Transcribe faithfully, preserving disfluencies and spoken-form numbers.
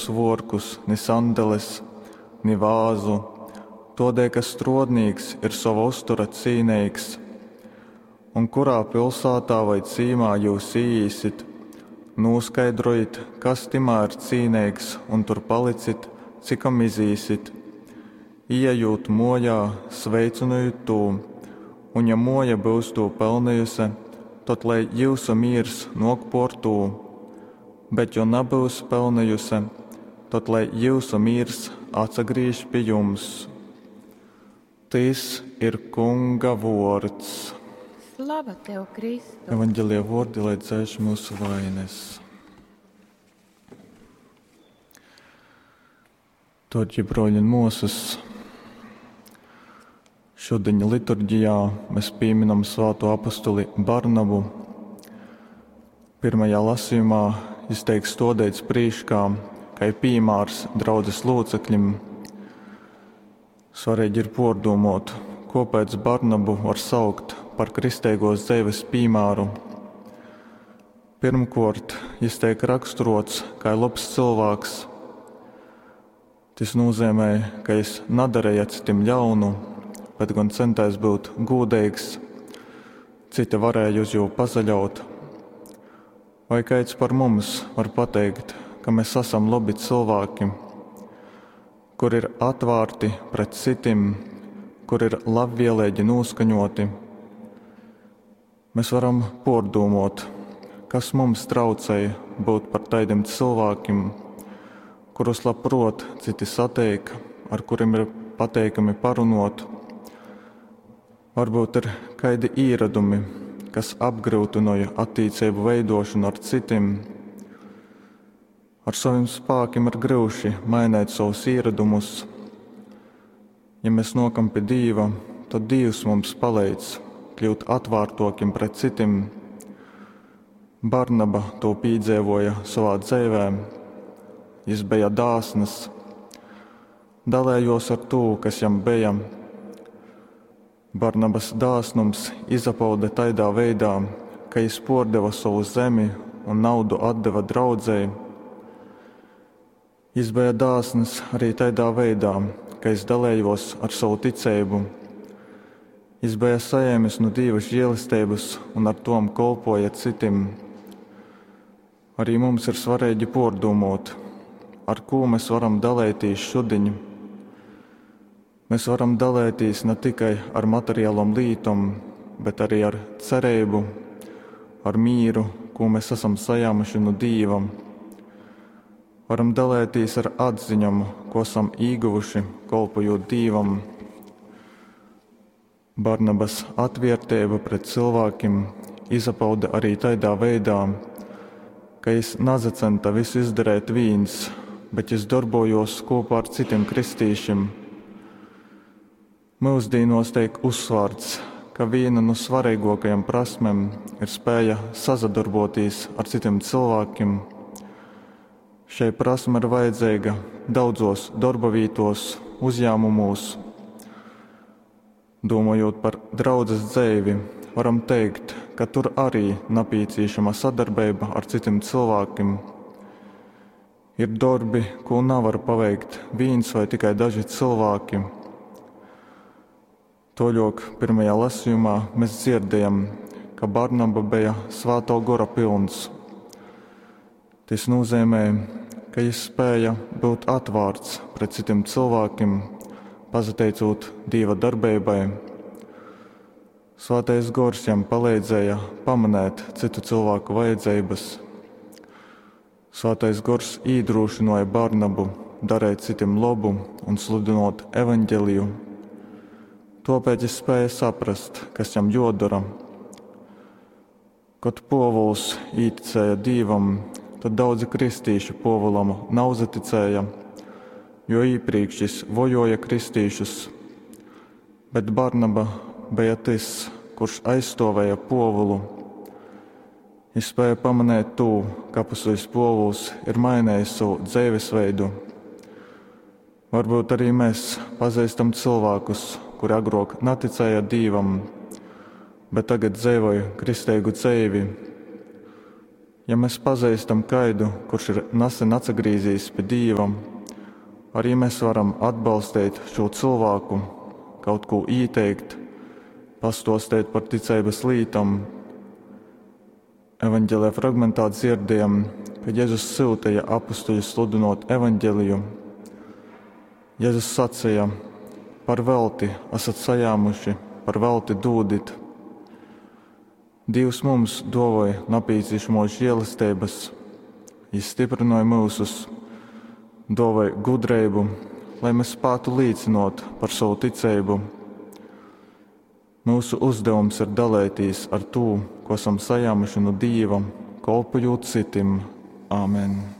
svuorkus, ni sandeles, ni vāzu, tuodēļ ka struodnīks ir sova uztura cīneigs. Un kurā pilsātā voi cīmā jyus īīsit, nūskaidrojit, kas tymā ir cīneigs, un tur palicit, cikom izīsit. Īejūt muojā, sveicynojit tū, un ja muoja byus tū pelnejuse, tod lai jyusu mīrs nuok puor tū. Bet jo nabyus pelnejuse, tod lai jyusu mīrs atsagrīž pi jums. Tys ir Kunga vuords. Slava tev, Kristu! Evangelija vuordi, lai dzēš mūsu vaines. Dārgie broļi un muosas, šodien liturģijā mēs pieminam svāto apostuli Barnabu. Pirmajā lasījumā jis teik stodēts prīškā, kai pīmārs draudzes locekļim. Svarīgi ir pārdomot, kāpēc Barnabu var saukt par kristeigos dzeives piemēru. Pirmkārt, jis teik raksturots kā labs cilvēks. Tas nozīmē, ka jis nedarīja citiem ļaunu, bet gan centās būt gūdīgs. Citi varēja uz jū pazaļaut. Vai kāds par mums var pateikt, ka mēs esam labi cilvēki, kur ir atvērti pret citiem, kur ir labvēlīgi noskaņoti? Mēs varam pārdomot, kas mums traucēja būt par tādiem cilvēkiem, kurus labprot citi satiek, ar kuriem ir pateikami parunot. Varbūt ir kādi īradumi, kas apgrūtināja attiecību veidošanu ar citiem. Ar saviem spēkiem ir grūti mainīt savus ieradumus. Ja mēs nokam pie Dieva, tad Dievs mums palīdz kļūt atvērtokiem pret citiem. Barnaba to piedzīvoja savā dzīvē. Jis bija dāsns, dalējos ar to, kas jam bija. Barnabas dāsnums izapauda taidā veidā, ka jis pordeva savu zemi un naudu atdeva draudzēji. Jis bija dāsns arī tādā veidā, ka jis dalējos ar savu ticību. Jis bija sajēmis no Dieva žēlestības un ar tom kolpoja citim. Arī mums ir svarīgi pārdomot, ar ko mēs varam dalīties šodien. Mēs varam dalīties ne tikai ar materiālām lītom, bet arī ar cerību, ar mīru, ko mēs esam sajāmuši no Dieva. Varam dalīties ar atziņām, ko esam ieguvuši, kolpojot Dievam. Barnabas atvērtība pret cilvēkiem izpauda arī tādā veidā, ka jis nazacenta visu izdarīt viens, bet jis darbojos kopā ar citiem kristīšiem. Mūsdienos tiek uzsvērts, ka viena no svarīgākajām prasmēm ir spēja sazadarboties ar citiem cilvēkiem. Šai prasme ir vajadzīga daudzos darba vītos, uzņēmumos. Domājot par draudzes dzīvi, varam teikt, ka tur arī nepieciešama sadarbība ar citiem cilvēkiem. Ir darbi, ko nevar paveikt viens vai tikai daži cilvēki. Toļok pirmajā lasījumā mēs dzirdējam, ka Barnaba bija svēto gora pilns. Tas nozīmē, ka jis spēja būt atvērts pret citiem cilvēkiem, pazateicot Dieva darbībai. Svētais gors jam palīdzēja pamanēt citu cilvēku vajadzības. Svētais gors iedrošināja Barnabu darīt citiem labu un sludinot evaņģeliju. Tāpēc jis spēja saprast, kas jam jodara. Kad Povuls īticēja Dievam, tad daudzi kristīši Povulam nauzaticēja, jo iepriekš jis vojoja kristīšus. Bet Barnaba bija tas, kurš aizstāvēja Povulu. Jis spēja pamanīt to, ka apustulis Povuls ir mainījis savu dzīvesveidu. Varbūt arī mēs pazīstam cilvēkus, kuri agrāk neticēja Dievam, bet tagad dzīvoja kristīgu dzīvi. Ja mes pazeistam kaidu, kurš ir nasen atsagrīzīs pi Dīva, ari mes varam atbalsteit šū cylvāku, kaut kū īteikt, pastōsteit par ticeibas lītom. Evaņgelija fragmentā dzierdējam, ka Jezus syuteja apustuļus sludynōt evaņgeliju. Jezus saceja: Par velti asat sajāmuši, par velti dūdit. Dīvs mums dōvoj napīcīšamōs žēlesteibas, Jys styprynoj myusus, dōvoj gudreibu, lai mes spātu līcynōt par sovu ticeibu. Myusu uzdevums ir daleitīs ar tū, ko asam sajāmuši nu Dīva, kolpojūt cytim. Āmen.